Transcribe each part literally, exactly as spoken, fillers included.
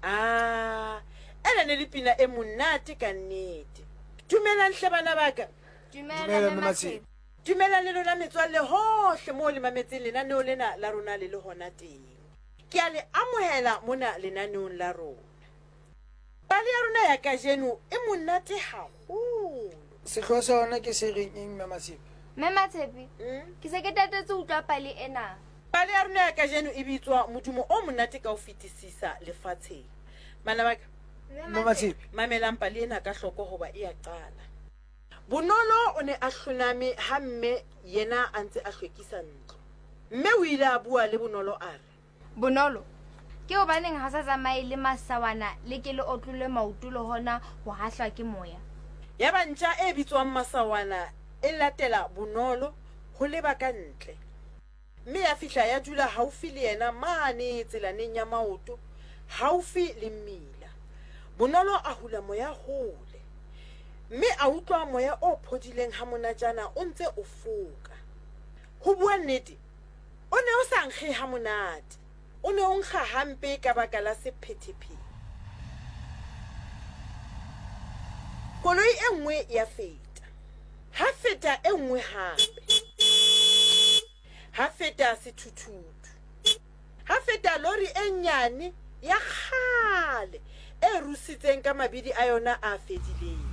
Ah, ena ne le pina e monate ka nnete. Dumelang hle bana ba ka. Dumela Mme Matshepe. Dumelang le lona metswalle hohle moo le mametseng lenaneo lena la rona le le hona teng. Ke a le amohela mona lenaneong la rona. Pale ya rona ya kajeno e monate haholo. Sehlooho sa yona ke se reng eng Mme Matshepe? Mme Matshepe, Mm? ke se ke tatetse ho utlwa pale ena. Pale ya rona ya kajeno e bitswa Modumo o monate ka ho fetisisa lefatsheng. Bana ba ka, Mme Matshepe. mamelang pale ena ka hloko hoba e a qala. Bonolo o ne a hloname ha mme yena a ntse a hlwekisa ntlo. Mme o ile a bua le Bonolo a re, Bonolo, ke hobaneng ha sa tsamaye le masawana le ke le otlolle maoto le hona ho hahlwa ke moya? Yaba ntja e bitswang Masawana e latela Bonolo ho leba ka ntle. Mme ya fihla ya dula haufi le yena mane tselaneng ya maoto, haufi le mmila. Bonolo a hula moya hole, mme a utlwa moya o phodileng ha monatjana o ntse o foka. Ho bua nnete, o ne o sa nkge ha monate. O ne o nkga hampe ka baka la sephethephethe. Koloi e nngwe ya feta. Ha feta e nngwe hape. Ha feta sethuthuthu. Ha feta lori e nyane ya kgale e rusitseng ka mabidi a yona a fedileng.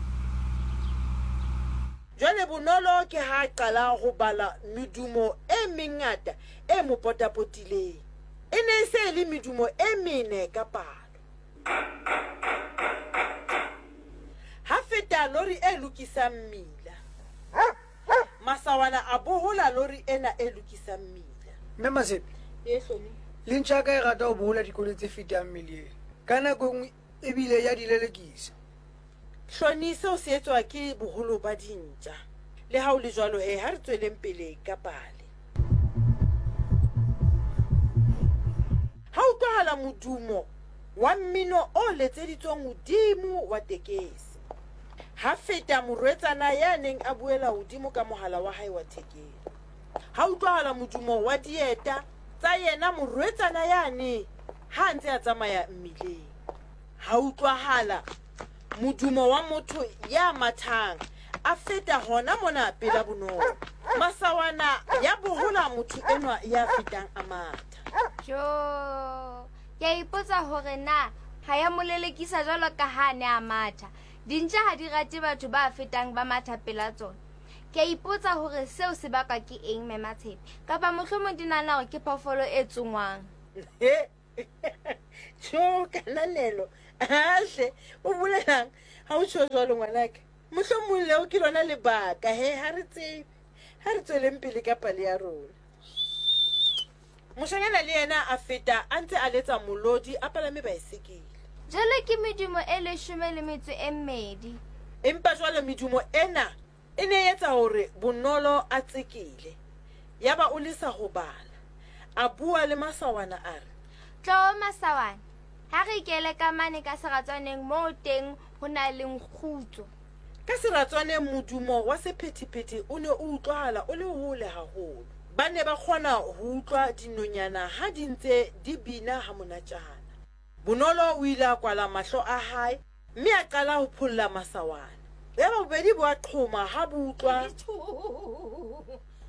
Jwale Bonolo ke ha a qala ho bala medumo e mengata e mo potapotileng. E ne e se e le medumo e mene ka palo. Ha feta lori e lokisang mmila. Masawana a bohola lori ena e lokisang mmila. Mme Matshepe, E Hloni. le ntja ya ka e rata ho bohola dikoloi tse fetang mmileng. Ka nako e nngwe ebile ya di lelekisa. Hloni, seo se etswa ke boholo ba dintja. Le ha ho le jwalo he, ha re tsweleng pele ka pale. Ha utlwahala modumo wa mmino o letseditsweng hodimo wa tekesi. Ha feta morwetsana ya neng a buela hodimo ka mohala wa hae wa thekeng. Ha utlwahala modumo wa dieta tsa yena morwetsana yane ha a ntse a tsamaya mmileng. Ha utlwahala modumo wa motho ya mathang a feta hona mona pela Bonolo. Masawana ya bohola motho enwa ya fetang a matha. Jo, ke a ipotsa hore na ha ya mo lelekisa jwalo ka ha a ne a matha. Dintja ha di rate batho ba fetang ba matha pela tsona. Ke a ipotsa hore seo se bakwa ke eng Mme Matshepe, kapa mohlomong di nahana hore ke phoofolo e tsongwang. He. Tjho, kananelo. Ahle, o bolelang ha o tjho jwalo ngwanaka? Mohlomong leo ke lona lebaka he, ha re tsebe. Ha re tsweleng pele ka pale ya rona. Moshanyana le yena a feta a ntse a letsa molodi a palame baesekele. Jwale ke medumo e leshome le metso e mmedi. Empa jwale medumo ena e ne e etsa hore Bonolo a tsekele. Yaba o lesa ho bala. A bua le Masawana a re, Tlo Masawana, ha re ikele ka mane ka seratswaneng moo teng ho na le kgutso. Ka seratswaneng modumo wa sephethephethe o ne o utlwahala o le hole haholo. Ba ne ba kgona ho utlwa dinonyana ha di ntse di bina ha monatjana. Bonolo o ile a kwala mahlo a hae mme a qala ho pholla Masawana. Yaba bobedi bo a qhoma ha bo utlwa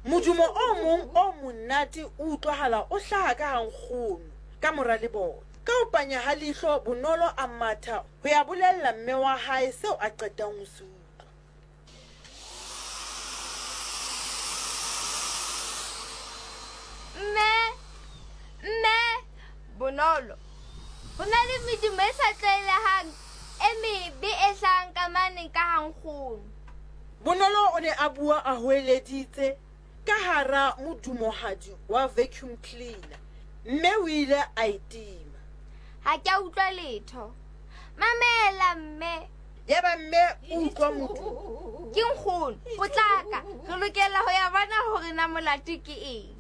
modumo o mong o monate o utlwahala o hlaha ka ha nkgono ka mora lebota. Ka ho panya ha leihlo, Bonolo a matha ho ya bolella mme wa hae seo a qetang ho se utlwa. Mme, mme, Bonolo, ho na le medumo e sa tlwaelehang e mebe e hlahang ka mane ka ha nkgono. Bonolo o ne a bua a hoeleditse ka hara modumohadi wa vacuum cleaner. Mme o ile a e tima. Ha ke a utlwa letho. Mamela mme. Yaba mme o utlwa modumo. Ke nkgono, potlaka. Re lokela ho ya bona hore na molato ke eng.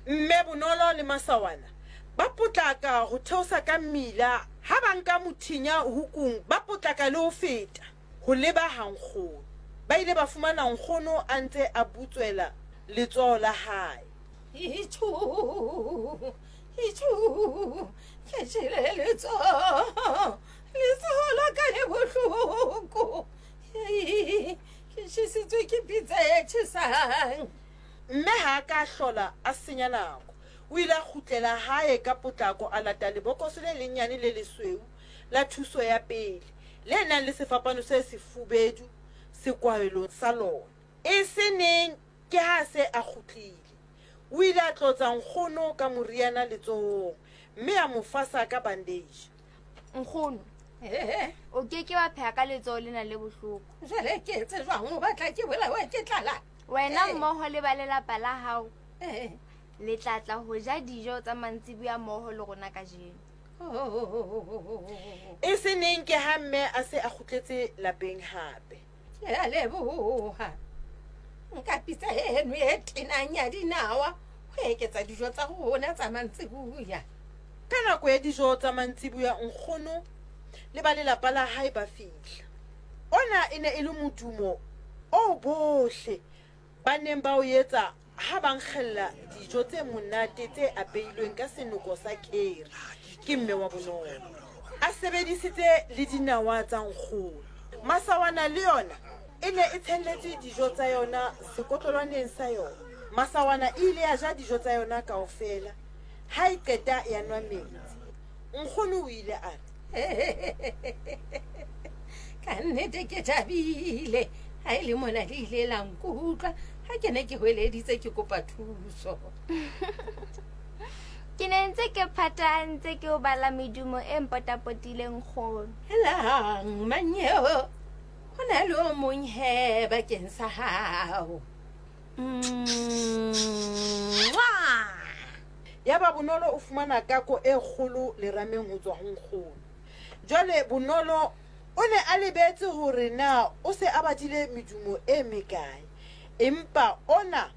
Mme Bonolo le Masawana ba potlaka ho theosa ka mmila. Ha ba nka mothinya hukung, ba potlaka le ho feta ho leba ha nkgono. Ba ile ba fumana nkgono a ntse a butswela letsoho la hae. Itjho, Itjhu, ke tjhele letsoho. Letsoho la ka le bohloko. Hei, ke tjhesitswe ke pitsa e tjhesang. Mme ha a ka a hlola a senya nako. O ile a kgutlela hae ka potlako a lata lebokoso le lenyane le lesweu la thuso ya pele le nang le sefapano se sefubedu sekwahelo sa lona. E se neng ke ha se a kgutlile. O ile a tlotsa nkgono ka moriana letsohong mme a mo fasa ka bandage. Nkgono, Eh, o ke ke wa pheha ka letsoho lena le bohloko. jwale ke etse jwang o batla ke bolawe ke tlala? Wena Eh. mmoho le ba lelapa la hao Eh. le tla tla ho ja dijo tsa mantsiboya mmoho le rona kajeno. Oh, E se neng ke ha mme a se a kgutletse lapeng hape. Ke a leboha. Nka pitsa eno e tenang ya dinawa ho eketsa dijo tsa rona tsa mantsiboya. Ka nako ya dijo tsa mantsiboya nkgono le ba lelapa la hae ba fihla. Ona e ne e le modumo oo bohle ba neng ba o etsa ha ba nkgella dijo tse monate tse apeilweng ka senoko sa kheri ke mme wa Bonolo. A sebedisitse le dinawa tsa nkgono. Masawana le yona e ne e tshelletse dijo tsa yona sekotlolwaneng sa yona. Masawana e ile ya ja dijo tsa yona kaofela. Ha e qeta ya nwa metsi. Nkgono o ile a re, Ka nnete ke thabile ha e le mona le ile la nkutlwa ha ke ne ke hweleditse ke kopa thuso. Ke ne ntse ke phatahantse ke ho bala medumo e mpotapotileng nkgono. Helang manyeo, ho na le o mong he bakeng sa hao. Mwah! Yaba Bonolo o fumana kako e kgolo lerameng ho tswa ho nkgono. Jwale Bonolo o ne a lebetse hore na o se a badile medumo e mekae. Empa ona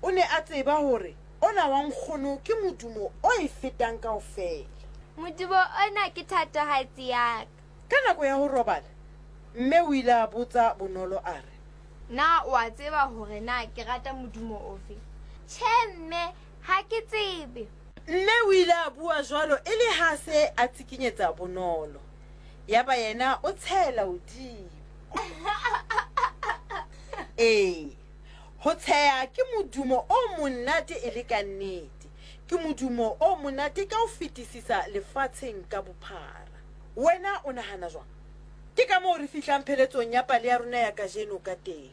o ne a tseba hore ona wa nkgono ke modumo o e fetang kaofela. Modumo ona ke thatohatsi ya ka. Ka nako ya ho robala, mme o ile a botsa Bonolo a re, Na o a tseba hore na ke rata modumo ofe? Tjhe mme, ha ke tsebe. Mme o ile a bua jwalo e le ha se a tsikinyetsa Bonolo. Yaba yena o tshela hodimo. Ee, ho tsheha ke modumo o monate e le ka nnete. Ke modumo o monate ka ho fetisisa lefatsheng ka bophara. Wena o nahana jwang? Ke ka moo re fihlang pheletsong ya pale ya rona ya kajeno ka teng.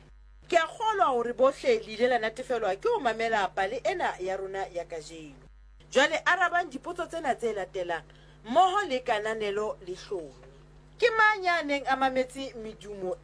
Ke a kgolwa hore bohle le ile la natefelwa ke ho mamela pale ena ya rona ya kajeno. Jwale arabang dipotso tsena tse latelang mmoho le kananelo le hlomi. Ke mang ya neng a mametse medumo